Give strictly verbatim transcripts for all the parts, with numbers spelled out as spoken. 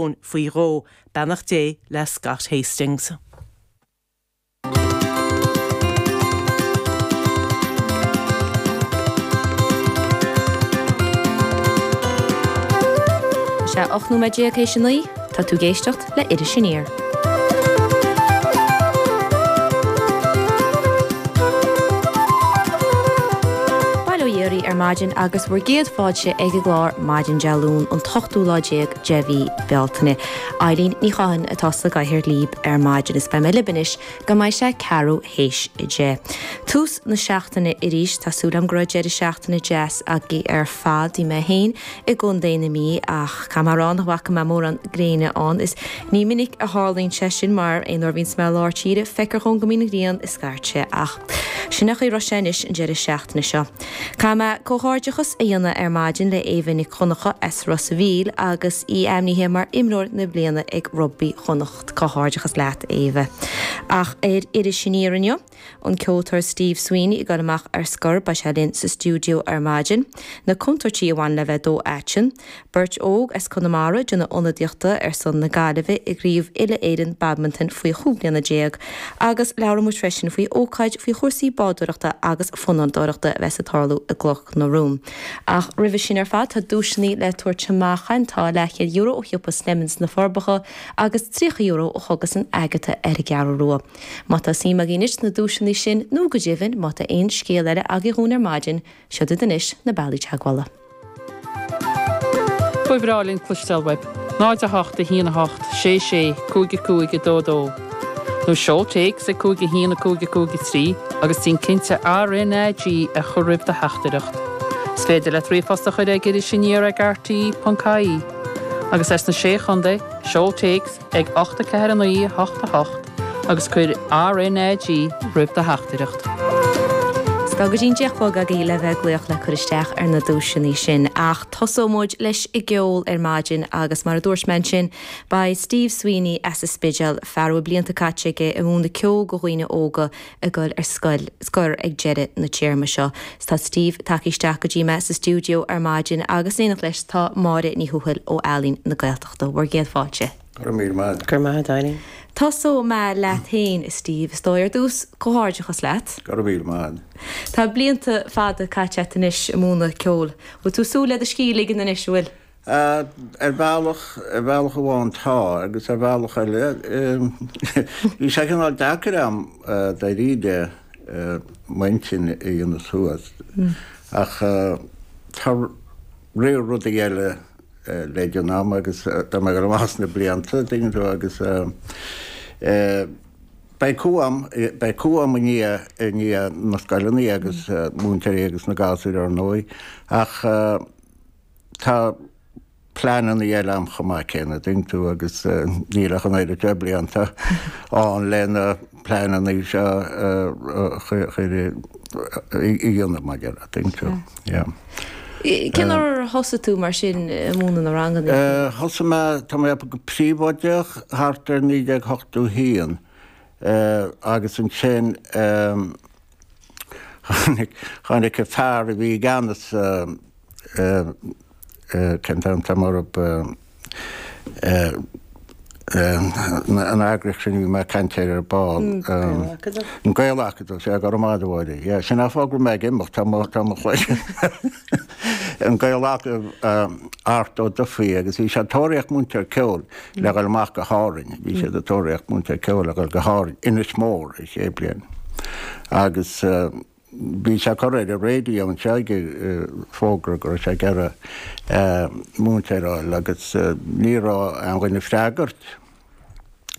Leoin faoi dhó. Beannacht Dé le Scott Hastings. Sé ocht nóiméad déag théis a naoi, tá tú ag éisteacht le Iris Aniar. Bail ó Dhia oraibh ar maidin agus bhur gcéad fáilte ag an gclár Maidin Dé Luain an t-ochtú lá déag de mhí Bealtaine. Eileen Ní Chatháin atá sa gcathaoir libh ar maidin is beidh mé libh anois go mbeidh sé ceathrú théis a deich. Tús na seachtaine arís, tá súil agam go raibh deireadh seachtaine deas agaibh ar fad. Bhí mé féin i gContae na Mí ach caithfidh mé a rá nach bhfaca mé mórán gréine ann. Is ní minic a tharlaíonn sé sin mar aon uair a bhíonns mé i lár tíre feictear dhom go mbíonn an ghrian ag scairteadh ach sin é an chaoi a raibh sé anois an deireadh seachtaine seo. Caithfidh mé comhghairdeachas a dhéanamh ar maidin le Éabha Nic Dhonncha as Ros a' Mhíl agus í ainmnithe mar imreoir na bliana ag Rugbaí Chonnacht. Comhghairdeachas leat Éabha. Ach ar Iris Aniar inniu, an ceoltóir Steve Sweeney ag dul amach ar scor, beidh sé linn sa stiúideo ar maidin. Na contúirtí a bhaineann le bheith dó-aiteann. Beirt óg as Conamara ag déanamh ionadaíochta ar son na Gaillimhe i gCraobh Uile-Éireann Badmantain faoi chúig bliana déag agus labhróidh muid freisin faoi ócáid faoi chúrsaí bádóireachta agus fonnadóireachta a bheas ag tarlú i gCloch na Rón. Ach roimhe sin ar fad tá duaiseanna le tabhairt amach againn, tá leathchéad euro ó shiopa Slemons na Forbacha agus tríocha euro ó Chógaslann Agatha ar an gCeathrú Rua. Má tá suim agaibh anois sna duaiseanna sin nó go deimhin má tá aon scéal eile agaibh dhúinn ar maidin, seo iad anois na bealaí teagmhála. Ba bhreá linn cloisteáil uaibh. náid a hocht a haon a hocht sé sé cúig a cúig a dó dó. Nó seol téacs ag cúig a haon a cúig a cúig a trí agus déan cinnte RnaG a chur roimh do theachtaireacht. Is féidir leat ríomhphost a chur ag irisaniar ag rte ponc ie. Agus as na Sé Chontae, seol téacs ag ocht a ceathair a naoi a hocht a hocht agus cuir RnaG roimh do theachtaireacht. Is tá go dtí an deich a chlog agaibh le bheith ag glaoch le cur isteach ar na duaiseanna sin. Ach tosóidh muid leis an gceol ar maidin agus mar a dúirt mé ansin, beidh Steve Sweeney as an Spidéal, fear a bhfuil blianta caite aige ag múineadh ceoil do dhaoine óga ag dul ar scoil, scor ag deireadh na téarma seo. Tá Steve tagtha isteach go dtí mé sa stiúideo ar maidin agus in éineacht leis tá Máire Ní Thuathail ó Ealaín na Gaeltachta. Bhur gcéad fáilte. Go raibh míle maith. Go raibh maith agat, Eileen. Tosóidh mé leat féin, a Steve. Is dóigh ar dtús, comhghairdeachas leat. Go raibh míle maith. Tá blianta fada caite agat anois ag múineadh ceoil. Bhfuil tú ag súil le do scíth a ligean anois, an bhfuil? Ar bhealach, ar bhealach amháin tá, agus ar bhealach eile, bhí sé cineál deacair a'm dáiríre m'intinn a dhéanamh suas. Ach tá rogha rudaí eile le déanamh a'm agus tá mé ag dul amach sna blianta, tuigeann tú, agus beidh cumha a'm, beidh cumha a'm i ndiaidh, i ndiaidh na scoileanna agus múinteoirí agus na gasúir ar ndóigh, ach tá pleananna eile a'm chomh maith céanna, tuigeann tú, agus níl ach an oiread seo blianta ann le na pleananna seo a chur i dhéanamh, mar a déarfá, tuigeann tú, yeah. Cén uair ar thosaigh tú mar sin ag múineadh na ranganna? Thosaigh mé, tá mé go príobháideach thart ar naoi déag ochtó haon agus ansin tháinig, tháinig an fear a bhí i gceannas cén t-ainm atá orthu, an eagraíocht sin a bhí mé ag caint air ar ball. An Gael-Acadamh, sea, go raibh maith agat a Mháire. Yeah, sin an fáth go raibh mé ag imeacht, tá mo, tá mo chloigeann. An Gael-Acadamh, Art Ó Dufaigh agus bhí sé ag tóraíocht múinteoir ceoil le dhul amach go hÁrainn. Bhí siad ag tóraíocht múinteoir ceoil le dhul go hÁrainn, Inis Mór, an chéad bhliain. Agus Bhí sé ag cur ar an raidió anseo ag fógra go raibh sé ag iarraidh múinteoir a fháil agus ní raibh aon dhuine ag freagairt.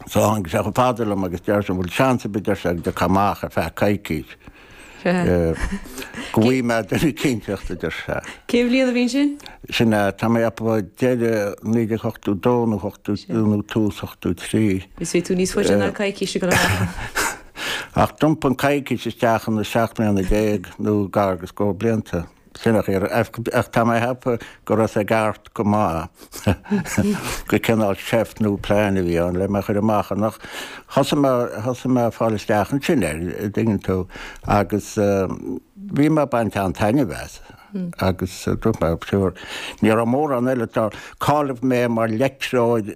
So tháinig sé chomh fada liom agus deir sé an bhfuil seans ar bith deir sé go dtiocfá amach ar feadh coicís. Go bhfaighidh mé duine eicínteacht a deir sé. Cén bhliain a bhí sin? Sin é, tá mé ag ceapadh deireadh naoi déag ochtó dó nó ochtó nó tús ochtó trí. Is bhí tú níos faide ná coicís ag dul amach. Ach d'iompaigh an coicís isteach ina seacht mbliana déag nó gar go scór blianta. Sin a chaora. Ach tá mé ag ceapadh go raibh sé ag Art go maith gur cineál seift nó plean a bhí ann le mé a chur amach ann. Ach thosaigh mé, thosaigh mé ag fáil isteach ansin air, an dtuigeann tú, agus bhí mé ag baint an-taitneamh as. Agus dúirt mé, sure, ní raibh mórán eile, tá, cáilíodh mé mar leictreoir